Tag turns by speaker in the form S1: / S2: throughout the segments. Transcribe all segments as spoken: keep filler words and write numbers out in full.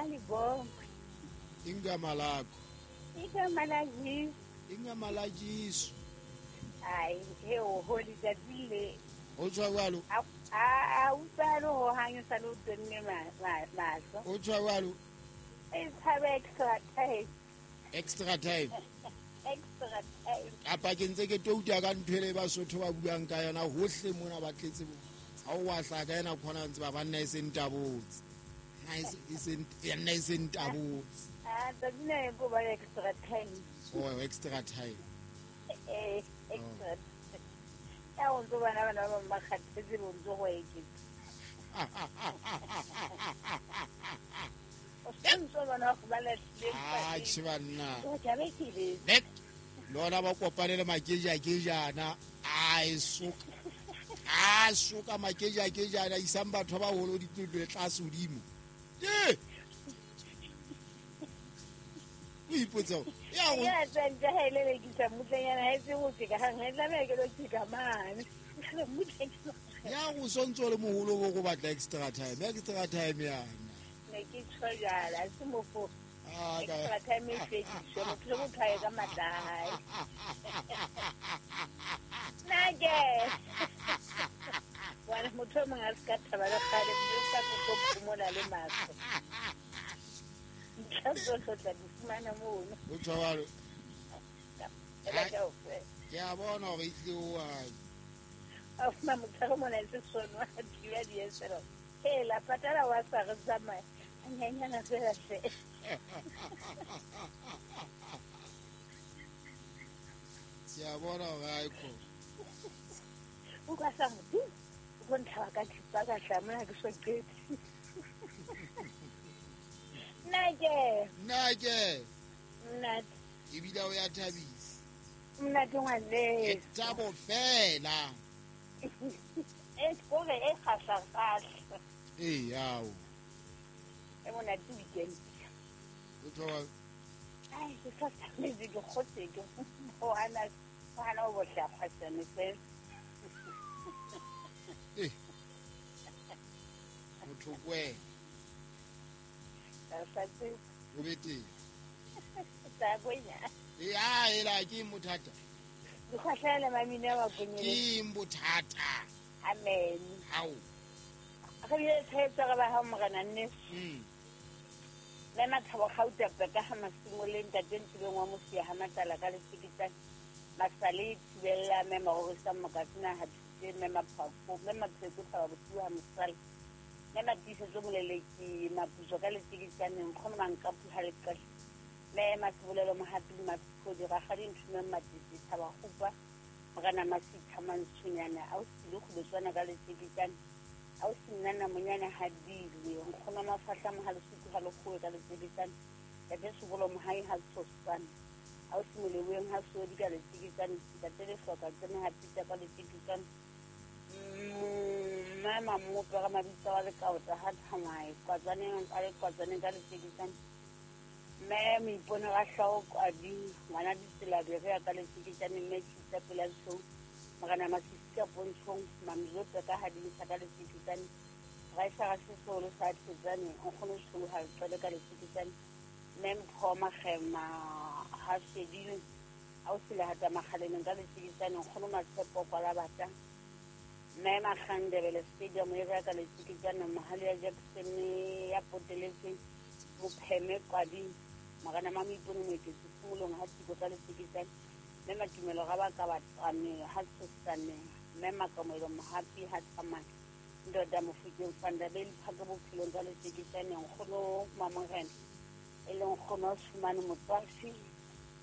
S1: Malibongwe.
S2: Ingama lakho.
S1: Igama la Jesu.
S2: Ingama la Jesu.
S1: Ai, he o holi tsatsi le.
S2: O tshwa jwalo.
S1: A a utlwalo ho hang sa lo tenne ma mahlo.
S2: O tshwa jwalo.
S1: E tshaba extra time.
S2: Extra time.
S1: Extra time.
S2: Kapa ke ntse ke touta ka ntho ele Basotho ba buang ka yona hohle mona ba tletse bo. Ha o wa hlaka yena khona ntse ba banna e seng tabotse. Nna e seng nna e seng tabotse.
S1: Ah, tsatsi le ko ba extra time.
S2: Oh, extra time.
S1: Eh, extra. Ya o ntse bana bana ba ba kgathetse bo ntse go eketsa. O ntse bana go ba lahlile.
S2: Ah, tjhe banna.
S1: O tlabe ke le.
S2: Nek. Lona ba kopane le makeja kejana. A e soka. A soka makeja kejana isang batho ba holo ditlotlo tlase hodimo. Ye. O ipotsa. Ya o.
S1: Ya tsantsa ha ile le kisa mmutlanyana ha etse go tseka hang ha tlameha ke lo tseka mane.
S2: Ya go sontso le moholo bo go batla extra time. Extra time yana.
S1: Ne ke tshojala se mofo.
S2: Ah,
S1: extra time e fediswe motho le motho a ye ka matla a hae. Nna ke. Bona motho o mong a se ka thaba le kgale mme o ka tlo phomola le mahlo. Ntlha tsohle tla di fumana mono.
S2: O tshwa jwalo.
S1: Ela kaofela.
S2: Ke a bona hore e tlile ho wa.
S1: A fumana motshehare mona e se sono a thiba dieselo. Hela patala wa sa re tsamaya. Nyenyana fela hle.
S2: Ke a bona hore ha e khona.
S1: O ka sa re o go ntlhaba ka thipa ka hla mona ke so qete. Nna ke.
S2: Nna ke.
S1: Nna.
S2: Ebile o ya thabisa.
S1: Nna ke ngwane.
S2: Ke thabo fela.
S1: E kore e kgahla kgahla.
S2: Ee yao.
S1: E monate weekend.
S2: O tshwa.
S1: Ai, ke sa tsametse ke kgotse ke ho hana ho hana ho bohla kgwasane fela.
S2: Eh. Motho kwe.
S1: Sa tse.
S2: O bete.
S1: Tsa bonya.
S2: E a ela ke mothata.
S1: Di kgwahlela mamine a bakonyele.
S2: Ke bothata.
S1: Amen.
S2: Hao.
S1: Re bile tshehetso re ba ha morena nne.
S2: Mm.
S1: Le mathabo Gauta ka ha masimo le ntate Ntibeng wa Mosia ha matala ka letsikitsane. Masale thibella mme Mororisa Mokatsina ha thuse mme Maphako mme Mapheko thaba bosiu ha mosala. Mme Matiisetso Moleleki Mapuso ka letsikitsane nkgono Mankapu ha leqale. Mme Masebolelo Mohapi Maphodi Rakgadi Nthumeng Matete Thaba Kgupa Morena Masitha Mantshunyana ausi le Kgubetswana ka letsikitsane. Ausi Nnana Monyane ha dilwe nkgono Mafahla Mohalesuthu ha lekgowe ka letsikitsane. Ntate Sekolo Mohai ha tshosane. Ausi Moleweng ha sodi ka letsikitsane. Ntate Lehloka tsene ha pita ka letsikitsane. Mme Mamope ka mabitso wa lekaota ha thamae kwatsaneng ka lekwatsaneng ka letsikitsane. Mme Moipone ga hlao kwadi ngwana ditsela bere ka letsikitsane mme Tshitsa pela tshou. Morena Masisi ka pontshong Mamzope ka ha dintsha ka letsikitsane. Raisa ga sesolo sa thetsane nkgono tsholo ha qele ka letsikitsane. Mme Mpho Makgema ha shedile ausi le hata makgaleneng ka letsikitsane nkgono Matshepo kwa la bata. Mme Makhandebele stadium e ka letsikitsane mohale ya Jackson ya poteletseng Mopheme kwadi Morena Mamoipone Moeketsi phomolong ha tiko ka letsikitsane. Mme Matumelo ga ba ka batswane ha tshosane mme Makamoelo Mohapi ha tsamaya ndoda Mofokeng Fandabeli phaka bophelong ka letsikitsane nkgono Mamorena e leng nkgono wa Sefumane Motswafi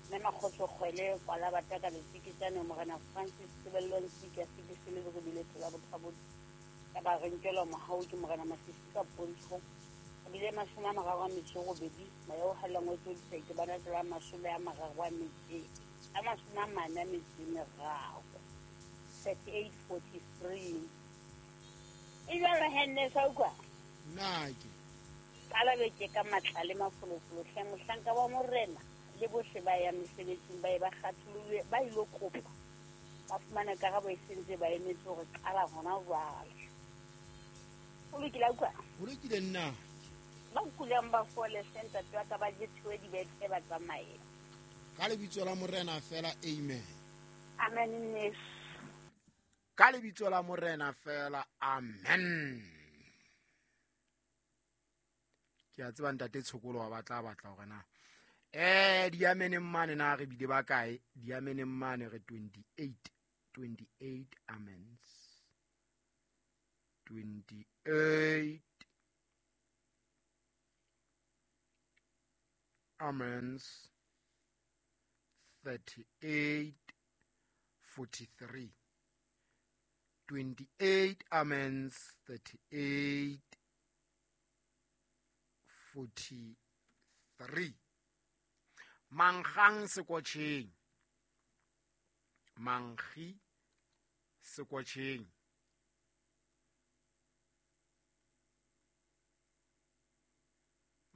S1: mme Makgotso Kgwele kwa la bata ka letsikitsane Morena Francis Tebello Ntsika se le rebile thola bothabotse ka ba re nkelwa mohau ke Morena Masisi ka pontsho bile mashome a mararo a metso e robedi moya o hallang o tswedisa ke bana tsela mashome a mararo a metso a mashome a mane a metso e meraro thirty-eight forty-three e jwalo henne sa utlwa
S2: nna ke
S1: qala beke ka matla le mafolofolo hle mohlanka wa morena le bohle ba yang mesebetsing ba e ba kgathololwe ba ilo kopa ba fumana karabo e sentse ba emetse hore qala hona jwale. O lokile a utlwa?
S2: O lokile nna.
S1: Ba kulang ba fole hle ntate wa ka, ba jethuwe dibethe ba tsamaye.
S2: Ka lebitso la Morena fela, amen.
S1: Amen nnes.
S2: Ka lebitso la Morena fela, amen. Ke a tseba ntate Tshokolo wa batla batla hore na eh diameneng mane na re bile ba kae? Diameneng mane re twenty-eight, twenty-eight amens. twenty-eight amens, thirty-eight, forty-three. twenty-eight amens, thirty-eight, forty-three. Mangang sekotjheng. Mankgi sekotjheng.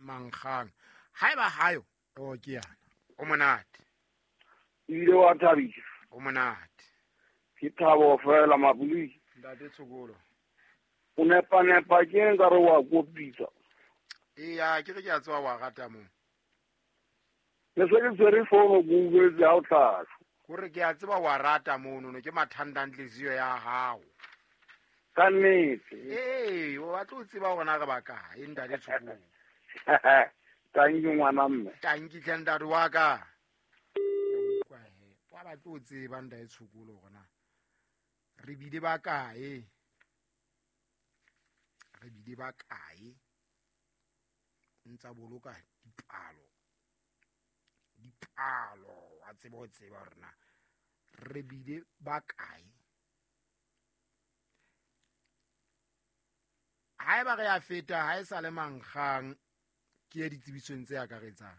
S2: Mangang. Haeba hayo, o ke yana. O monate.
S3: Ile wa thabisa.
S2: O monate.
S3: Ke thabo fela mabuli.
S2: Ntate Tshokolo.
S3: O nepa nepa ke nka re wa kopisa.
S2: Eya, ke re ke a tswa wa rata mo.
S3: Ne se ke tshwere fono Google ya o tlasa.
S2: Kore ke a tseba wa rata mono, no ke mathanda ntliziyo ya hao.
S3: Ka nnete.
S2: Ee, o batla o tseba hore na re ba kae, ntate Tshokolo.
S3: Tanki ngwana mme.
S2: Tanki tle ntate wa ka. Kwa he, wa batla o tseba ntate Tshokolo hore na re bile ba kae. Re bile ba kae. Ntsa boloka dipalo. Dipalo wa tseba o tseba hore na re bile ba kae. Haeba re a feta ha e sa le mankgang ke ya ditsebisong tse akaretsang.